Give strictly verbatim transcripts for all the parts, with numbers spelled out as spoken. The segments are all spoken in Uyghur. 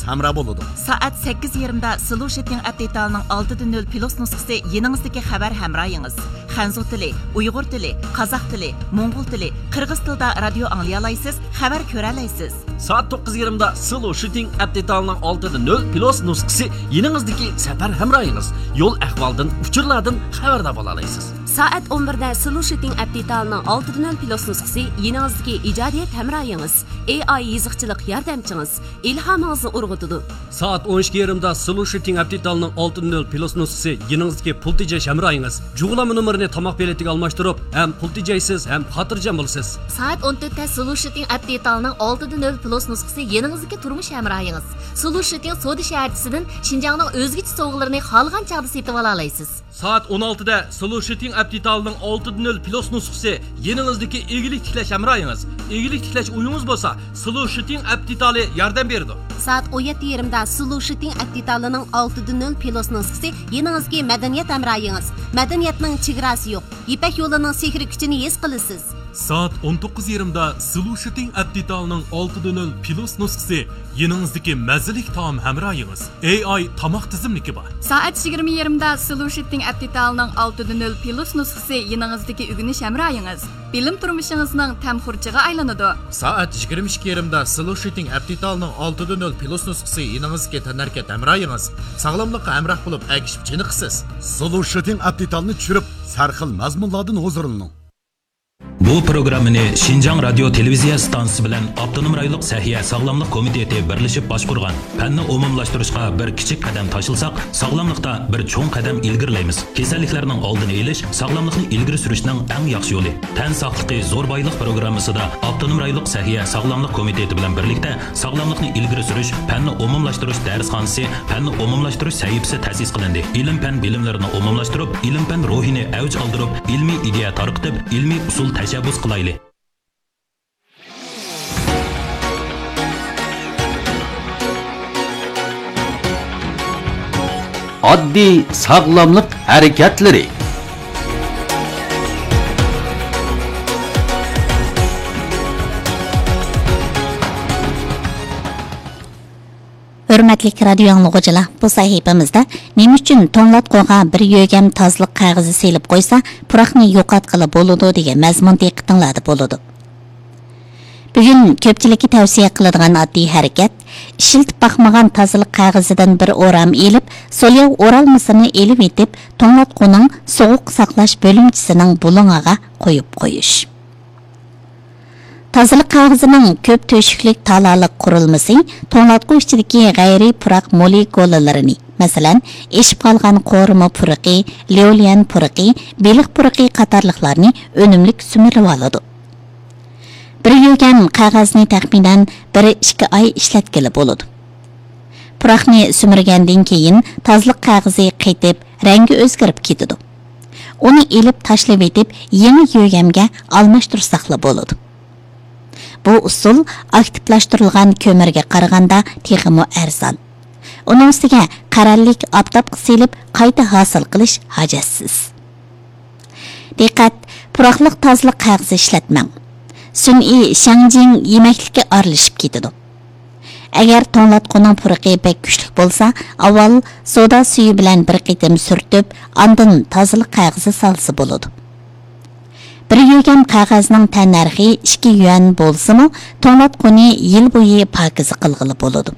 ھەمراھ بولىدۇ. سائەت سەككىز يېرىمدا سلوشىتىڭ ئەپ دېتالىنىڭ ئالتە دە نۆل پلۇس نۇسخىسى يېنىڭىزدىكى خەۋەر ھەمراھىڭىز. خەنزۇ تىلى، ئۇيغۇر تىلى، قازاق تىلى، موڭغۇل تىلى، قىرغىز تىلىدا رادىيو ئاڭلىيالايسىز، خەۋەر كۆرەلەيسىز. سائەت توققۇز يېرىمدا سلوشىتىڭ ئەپ دېتالىنىڭ ئالتە دە نۆل پلۇس نۇسخىسى يېنىڭىزدىكى سەپەر ھەمراھىڭىز. يول ئەھۋالدىن، ئۇچۇرلاردىن خەۋەردار بولالايسىز. سائەت ئون بىردە سلوشىتىڭ ئەپ دېتالىنىڭ ئالتە دە نۆل پلۇس نۇسخىسى يېنىڭىزدىكى ئىجادىيەت ھەمراھىڭىز، ئېي ئاي يېزىقچىلىق ياردەمچىڭىز، ئىلھامىڭىزنى ئۇرغۇتىدۇ. سائەت ئون ئىككى يېرىمدا سلوشىتىڭ ئەپ دېتالىنىڭ ئالتە دە نۆل پلۇس نۇسخىسى يېنىڭىزدىكى پۇل تېجەش ھەمراھىڭىز. جۇغلانما نومۇرىنى تاماق بېلىتىگە ئالماشتۇرۇپ، ھەم پۇل تېجەيسىز، ھەم خاتىرجەم بولىسىز. سائەت ئون تۆتتە سلوشىتىڭ ئەپ دېتالىنىڭ ئالتە دە نۆل پلۇس نۇسخىسى يېنىڭىزدىكى تۇرمۇش ھەمراھىڭىز. سلوشىتىڭ سودا شەھەرچىسىدىن شىنجاڭنىڭ ئۆزگىچە سوۋغىلىرىنى خالىغان چاغدا سېتىۋالالايسىز. سائەت ئون ئالتىدە سلوشىتىڭ ئەپ دېتالىنىڭ ئالتە دە نۆل پلۇس نۇسخىسى يېنىڭىزدىكى ئىگىلىك تىكلەش ھەمراھىڭىز. ئىگىلىك تىكلەش ئويىڭىز بولسا، سلوشىتىڭ ئەپ دېتالى ياردەم بېرىدۇ. سائەت ئون يەتتە يېرىمدا سلوشىتىڭ ئەپ دېتالىنىڭ ئالتە دە نۆل پلۇس نۇسخىسى يېنىڭىزدىكى مەدەنىيەت ھەمراھىڭىز. مەدەنىيەتنىڭ چېگراسى يوق. يىپەك يولىنىڭ سېھرىي كۈچىنى ھېس قىلىسىز. سائەت ئون توققۇز يېرىمدا سلوشىتىڭ ئەپ دېتالىنىڭ ئالتە دە نۆل پلۇس نۇسخىسى يېنىڭىزدىكى مەززىلىك تائام ھەمراھىڭىز. ئېي ئاي تاماق تىزىملىكى بار. سائەت يىگىرمە يېرىمدا سلوشىتىڭ ئەپ دېتالىنىڭ ئالتە دە نۆل پلۇس نۇسخىسى يېنىڭىزدىكى ئۆگىنىش ھەمراھىڭىز. بىلىم تۇرمۇشىڭىزنىڭ تەم خۇرجىغا ئايلىنىدۇ. سائەت يىگىرمە ئىككى يېرىمدا سلوشىتىڭ ئەپ دېتالىنىڭ ئالتە دە نۆل پلۇس نۇسخىسى يېنىڭىزدىكى تەنھەرىكەت ھەمراھىڭىز. ساغلاملىققا ھەمراھ بولۇپ، ئەگىشىپ چېنىقىسىز. سلوشىتىڭ ئەپ دېتالىنى چۈشۈرۈپ، سەرخىل مەزمۇنلاردىن ھۇزۇرلىنىڭ. بۇ پروگراممىنى شىنجاڭ رادىيو تېلېۋىزىيە ئىستانسىسى بىلەن ئاپتونوم رايونلۇق سەھىيە ساغلاملىق كومىتېتى بىرلىشىپ باشقۇرغان. پەننى ئومۇملاشتۇرۇشقا بىر كىچىك قەدەم تاشلىساق، ساغلاملىقتا بىر چوڭ قەدەم ئىلگىرىلەيمىز. كېسەللىكلەرنىڭ ئالدىنى ئېلىش ساغلاملىقنى ئىلگىرى سۈرۈشنىڭ ئەڭ ياخشى يولى. تەن ساقلىقى زور بايلىق پروگراممىسىدا ئاپتونوم رايونلۇق سەھىيە ساغلاملىق كومىتېتى بىلەن بىرلىكتە ساغلاملىقنى ئىلگىرى سۈرۈش، پەننى ئومۇملاشتۇرۇش دەرسخانىسى، پەننى ئومۇملاشتۇرۇش سەھىپىسى تەسىس قىلىندى. ئىلىم-پەن بىلىملىرىنى ئومۇملاشتۇرۇپ، ئىلىم-پەن روھىنى ئەۋج ئالدۇرۇپ، ئىلمىي ئىدىيە تارقىتىپ، ئىلمىي ئۇسۇل تەشەببۇس قىلايلى. ئاددىي ساغلاملىق ھەرىكەتلىرى. ھۆرمەتلىك رادىيو ئاڭلىغۇچىلار، بۇ سەھىپىمىزدە نېمە ئۈچۈن توڭلاتقۇغا بىر يۆگەم تازىلىق قەغىزى سېلىپ قويسا، پۇراقنى يوقاتقىلى بولىدۇ دېگەن مەزمۇن دىققىتىڭلاردا بولىدۇ. بۈگۈن كۆپچىلىككە تەۋسىيە قىلىدىغان ئاددىي ھەرىكەت، ئىشلىتىپ باقمىغان تازىلىق قەغىزىدىن بىر ئورام ئېلىپ، سولياۋ ئورالمىسىنى ئېلىۋېتىپ، توڭلاتقۇنىڭ سوغۇق ساقلاش بۆلۈمچىسىنىڭ بۇلۇڭىغا قويۇپ قويۇش. تازىلىق قەغىزىنىڭ كۆپ تۆشۈكلۈك تالالىق قۇرۇلمىسى توڭلاتقۇ ئىچىدىكى غەيرىي پۇراق مولېكۇلىلىرىنى، مەسىلەن، ئېشىپ قالغان قورۇما پۇرىقى، ليۇليەن پۇرىقى، بېلىق پۇرىقى قاتارلىقلارنى ئۈنۈملۈك سۈمۈرۈۋالىدۇ. بىر يۆگەم قەغەزنى تەخمىنەن بىر ئىككى ئاي ئىشلەتكىلى بولىدۇ. پۇراقنى سۈمۈرگەندىن كېيىن تازىلىق قەغىزى قېتىپ، رەڭگى ئۆزگىرىپ كېتىدۇ. ئۇنى ئېلىپ تاشلىۋېتىپ، يېڭى يۆگەمگە ئالماشتۇرساقلا بولىدۇ. بۇ ئۇسۇل ئاكتىپلاشتۇرۇلغان كۆمۈرگە قارىغاندا تېخىمۇ ئەرزان. ئۇنىڭ ئۈستىگە قەرەللىك ئاپتاپقا سېلىپ قايتا ھاسىل قىلىش ھاجەتسىز. دىققەت! پۇراقلىق تازىلىق قەغىزى ئىشلەتمەڭ. سۈنئىي شياڭجىڭ يېمەكلىككە ئارىلىشىپ كېتىدۇ. ئەگەر توڭلاتقۇنىڭ پۇرىقى بەك كۈچلۈك بولسا، ئاۋۋال سودا سۈيى بىلەن بىر قېتىم سۈرتۈپ، ئاندىن تازىلىق قەغىزى سالسا بولىدۇ. بىر يۆگەم قەغەزنىڭ تەننەرخى ئىككى يۈەن بولسىمۇ، توڭلاتقۇنى يىل بويى پاكىزە قىلغىلى بولىدۇ.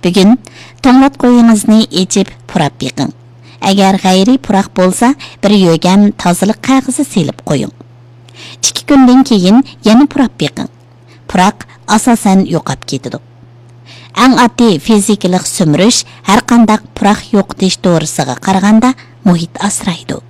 بۈگۈن توڭلاتقۇيىڭىزنى ئېچىپ پۇراپ بېقىڭ. ئەگەر غەيرىي پۇراق بولسا، بىر يۆگەم تازىلىق قەغىزى سېلىپ قويۇڭ. ئىككى كۈندىن كېيىن يەنە پۇراپ بېقىڭ. پۇراق ئاساسەن يوقاپ كېتىدۇ. ئەڭ ئاددىي فىزىكىلىق سۈمۈرۈش ھەرقانداق پۇراق يوقىتىش دورىسىغا قارىغاندا مۇھىت ئاسرايدۇ.